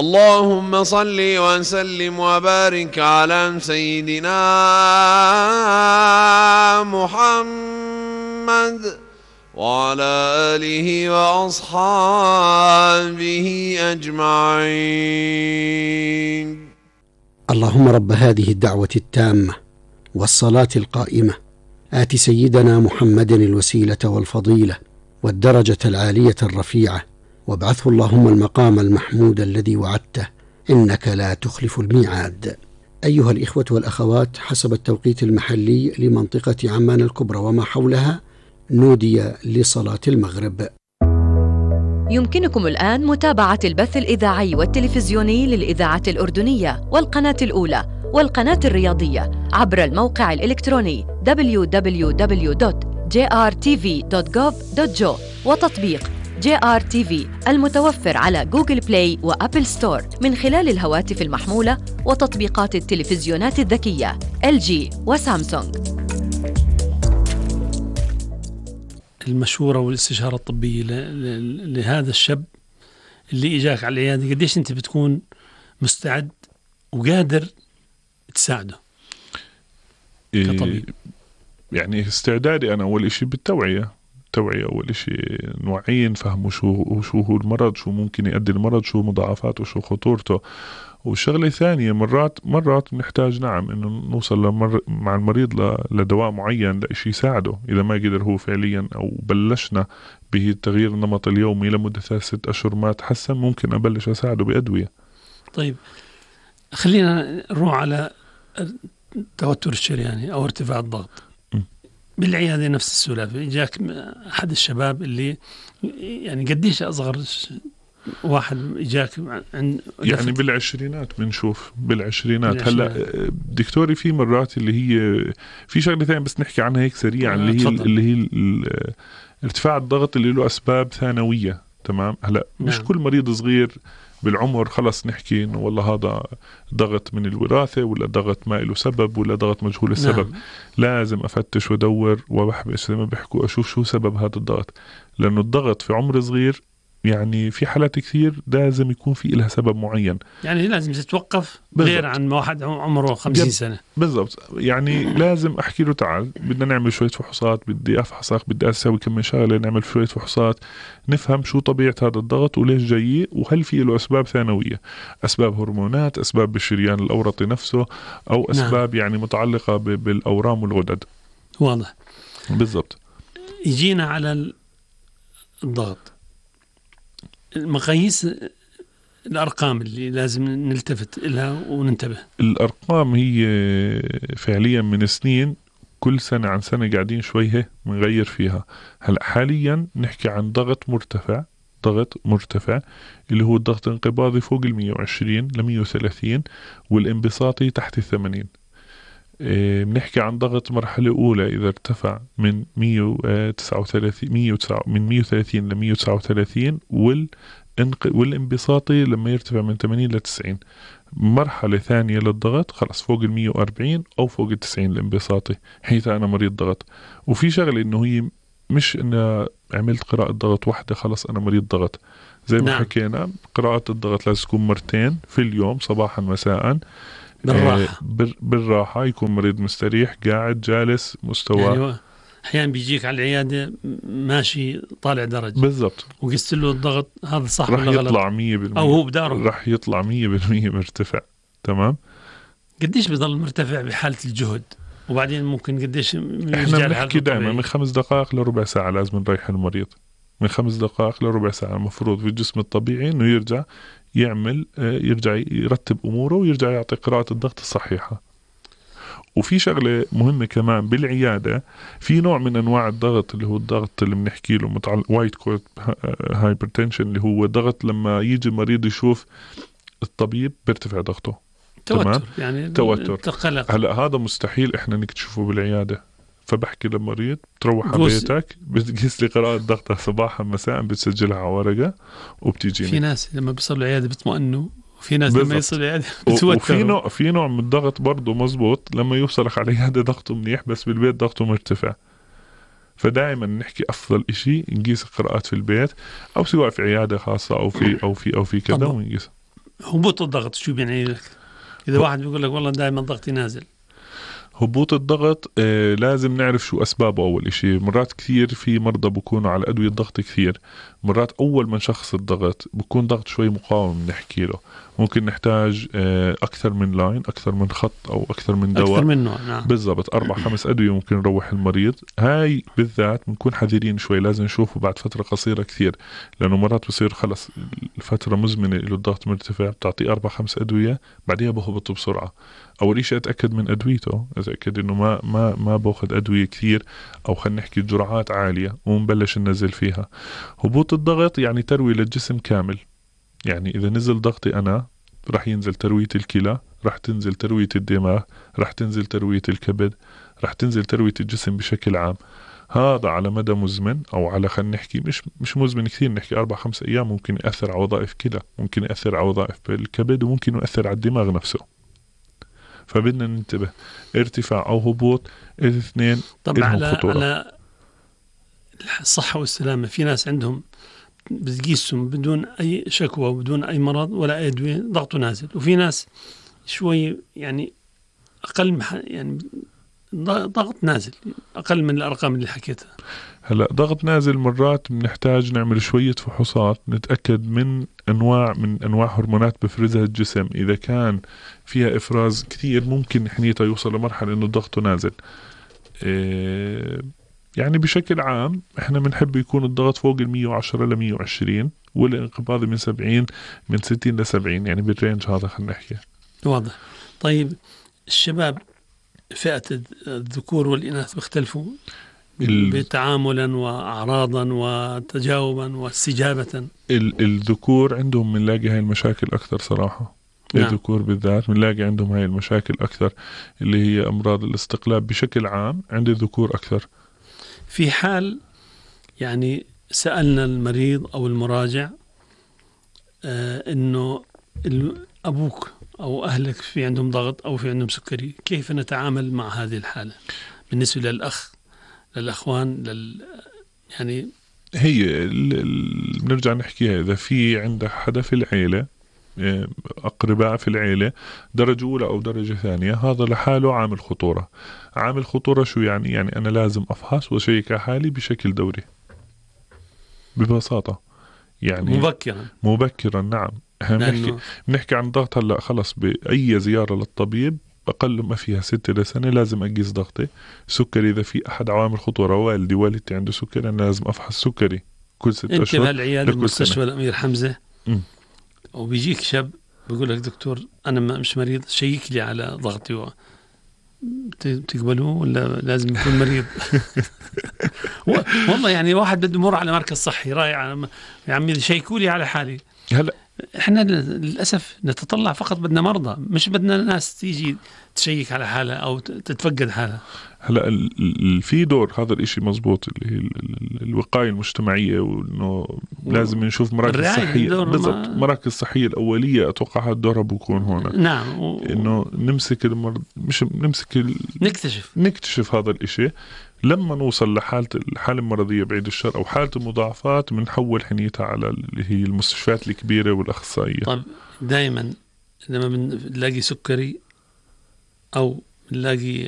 اللهم صل وسلم وبارك على سيدنا محمد وعلى آله وأصحابه أجمعين. اللهم رب هذه الدعوة التامة والصلاة القائمة آت سيدنا محمد الوسيلة والفضيلة والدرجة العالية الرفيعة وابعثه اللهم المقام المحمود الذي وعدته إنك لا تخلف الميعاد. أيها الإخوة والأخوات، حسب التوقيت المحلي لمنطقة عمان الكبرى وما حولها نودي لصلاة المغرب. يمكنكم الآن متابعة البث الإذاعي والتلفزيوني للإذاعة الأردنية والقناة الأولى والقناة الرياضية عبر الموقع الإلكتروني www.jrtv.gov.jo وتطبيق JRTV المتوفر على جوجل بلاي وأبل ستور من خلال الهواتف المحمولة وتطبيقات التلفزيونات الذكية LG وسامسونج. المشورة والاستشارة الطبية لهذا الشاب اللي إجاك على العيادة، قديش أنت بتكون مستعد وقادر تساعده كطبيب؟ يعني استعدادي أنا أول إشي بالتوعية، أول إشي نوعيه، نفهمه شو هو المرض، شو ممكن يؤدي المرض، شو مضاعفاته، شو خطورته. والشغلة الثانية مرات نحتاج إنه نوصل مع المريض لدواء معين لإشي يساعده إذا ما قدر هو فعليا، أو بلشنا بتغيير النمط اليومي لمدة 3-6 أشهر ما تحسن، ممكن أبلش أساعده بأدوية. طيب خلينا نروح على التوتر الشرياني أو ارتفاع الضغط. بالعيادة نفس السلافة، جاك أحد الشباب اللي يعني قديش أصغر واحد جاك يعني بالعشرينات، بنشوف بالعشرينات. هلا دكتوري في مرات اللي هي في شغله ثانيه بس نحكي عنها هيك سريعا، اللي هي ارتفاع الضغط اللي له اسباب ثانويه. تمام. هلا مش كل مريض صغير بالعمر خلص نحكي انه والله هذا ضغط من الوراثه، ولا ضغط ما له سبب، ولا ضغط مجهول السبب. لازم افتش وادور وبحبس زي ما بيحكوا، اشوف شو سبب هذا الضغط، لانه الضغط في عمر صغير يعني في حالات كثير لازم يكون في لها سبب معين، يعني لازم تتوقف غير عن واحد عمره 50 سنة بالضبط. يعني لازم أحكي له تعال بدنا نعمل شوية فحوصات، بدي أفحصك، بدي أسوي كم من شغلة، نعمل شوية فحوصات نفهم شو طبيعة هذا الضغط وليش جاي، وهل في له أسباب ثانوية، أسباب هرمونات، أسباب بالشريان الأورطي نفسه، أو أسباب يعني متعلقة بالأورام والغدد. واضح بالضبط. يجينا على الضغط، المقاييس، الأرقام اللي لازم نلتفت لها وننتبه. الأرقام هي فعليا من سنين، كل سنة عن سنة قاعدين شوية منغير فيها. هلأ حاليا نحكي عن ضغط مرتفع اللي هو الضغط الانقباضي فوق 120 ل130، والانبساطي تحت 80. بنحكي عن ضغط مرحلة أولى إذا ارتفع من 130 ل 139، والانبساطي لما يرتفع من 80 ل 90. مرحلة ثانية للضغط خلص فوق 140 أو فوق 90 الانبساطي، حيث أنا مريض ضغط. وفي شغلة إنه هي مش إن عملت قراءة ضغط واحدة خلص أنا مريض ضغط. زي ما حكينا، قراءة الضغط لازم تكون مرتين في اليوم، صباحا مساء، بالراحة، يكون مريض مستريح، قاعد جالس مستوى. يعني أحيانا بيجيك على العيادة ماشي طالع درج بالضبط، وقست له الضغط، هذا صح ولا غلط؟ رح يطلع 100%، أو هو بداره رح يطلع 100% مرتفع. تمام. قديش بيضل مرتفع بحالة الجهد؟ وبعدين ممكن قديش؟ احنا بنحكي دائما من 5 دقائق لربع ساعة لازم نريح المريض. من 5 دقائق لربع ساعة المفروض في الجسم الطبيعي انه يرجع يعمل، يرجع يرتب اموره ويرجع يعطي قراءة الضغط الصحيحة. وفي شغلة مهمة كمان بالعيادة، في نوع من انواع الضغط اللي هو الضغط اللي بنحكي له وايت كورت هايبرتنشن، اللي هو ضغط لما يجي المريض يشوف الطبيب بيرتفع ضغطه. توتر، يعني توتر. هلا هذا مستحيل احنا نكتشفه بالعيادة، فبحكي للمريض تروح على بيتك بتقيس لي قراءة ضغطها صباحا مساء، بتسجلها على ورقة وبتيجيني. في ناس لما بيصلوا العيادة بيطمئنوا، وفي ناس لما يصل العيادة بتوتروا. وفي نوع من الضغط برضه مزبوط لما يوصلك على العيادة ضغطه منيح بس بالبيت ضغطه مرتفع. فدائما نحكي أفضل إشي نقيس القراءات في البيت، أو سواء في عيادة خاصة أو في كذا ونقيس. هبوط الضغط شو بيعني لك؟ إذا واحد بيقول لك والله دائما ضغطي نازل. هبوط الضغط لازم نعرف شو أسبابه. أول إشي مرات كثير في مرضى بكونوا على أدوية ضغط كثير، مرات أول ما نشخص الضغط بكون ضغط شوي مقاوم نحكي له، ممكن نحتاج أكثر من لاين، أكثر من خط أو أكثر من دواء، أكثر منه. نعم. بالضبط 4-5 أدوية ممكن نروح المريض. هاي بالذات بنكون حذرين شوي، لازم نشوفه بعد فترة قصيرة كثير، لأنه مرات بصير خلص الفترة مزمنة له الضغط مرتفع، بتعطيه 4-5 أدوية بعدها بهبط بسرعة. أول إشي أتأكد من أدويته، أتأكد إنه ما باخذ أدوية كثير أو خلينا نحكي جرعات عالية ونبلش ننزل فيها. هبوط الضغط يعني تروي للجسم كامل، يعني إذا نزل ضغطي أنا رح ينزل تروية الكلى، رح تنزل تروية الدماغ، رح تنزل تروية الكبد، رح تنزل تروية الجسم بشكل عام. هذا على مدى مزمن أو على خلينا نحكي مش مزمن كثير، نحكي 4-5 أيام ممكن يأثر على وظائف كلى، ممكن يأثر على وظائف بالكبد، وممكن يأثر على الدماغ نفسه. فبدنا ننتبه ارتفاع أو هبوط الاثنين طبعا على الصحة والسلامة. في ناس عندهم بتقيسهم بدون أي شكوى وبدون أي مرض ولا أي أدوية ضغطه نازل، وفي ناس شوي يعني أقل يعني ضغط نازل أقل من الأرقام اللي حكيتها. هلا ضغط نازل مرات بنحتاج نعمل شوية فحوصات نتأكد من أنواع هرمونات بفرزها الجسم، إذا كان فيها إفراز كثير ممكن حنيتها يوصل لمرحلة إنه ضغطه نازل. يعني بشكل عام إحنا بنحب يكون الضغط فوق 110 ل 120 والانقباض من 60 ل 70، يعني بالرينج هذا خلينا نحكي. واضح. طيب الشباب فئة الذكور والإناث بيختلفوا بتعاملا وأعراضا وتجاوبا واستجابة؟ الذكور عندهم بنلاقي هاي المشاكل أكثر صراحة. نعم. الذكور بالذات بنلاقي عندهم هاي المشاكل أكثر، اللي هي أمراض الاستقلاب بشكل عام عند الذكور أكثر. في حال يعني سألنا المريض أو المراجع إنه أبوك أو أهلك في عندهم ضغط أو في عندهم سكري، كيف نتعامل مع هذه الحالة بالنسبة للأخ للأخوان يعني هي بنرجع نحكيها. إذا في عندك حدا في العيلة، أقرباء في العيلة درجة أولى أو درجة ثانية، هذا لحاله عامل خطورة. عامل خطورة شو يعني؟ يعني أنا لازم أفحص وشيك حالي بشكل دوري ببساطة، يعني مبكرا. نعم. بنحكي عن ضغط. هلأ خلص بأي زيارة للطبيب أقل ما فيها 6 سنة لازم أقيس ضغطي. سكري إذا في أحد عوامل خطورة، والدتي عنده سكري، أنا لازم أفحص سكري كل 6 أشهر. أنت بهالعيادة المستشفى الأمير حمزة وبيجيك شاب بيقول لك دكتور أنا مش مريض، شيك لي على ضغطي، بتقبلوه ولا لازم يكون مريض؟ والله يعني واحد بده يمر على مركز صحي رايح يا عمي شيكوا لي على حالي. هلا احنا للأسف نتطلع فقط بدنا مرضى، مش بدنا ناس تيجي تشيك على حالها أو تتفقد حالها. هلا في دور هذا الاشي مزبوط، اللي هي الوقاية المجتمعية، وانه لازم نشوف مراكز صحية. بالضبط، مراكز صحية الأولية أتوقع هذا دورها بيكون هنا. نعم. انه نمسك المرض، مش نمسك نكتشف هذا الاشي. لما نوصل الحالة المرضية بعيد الشر أو حالة المضاعفات بنحول حنيتها على اللي هي المستشفيات الكبيرة والأخصائية. طب دائما لما بنلاقي سكري أو بنلاقي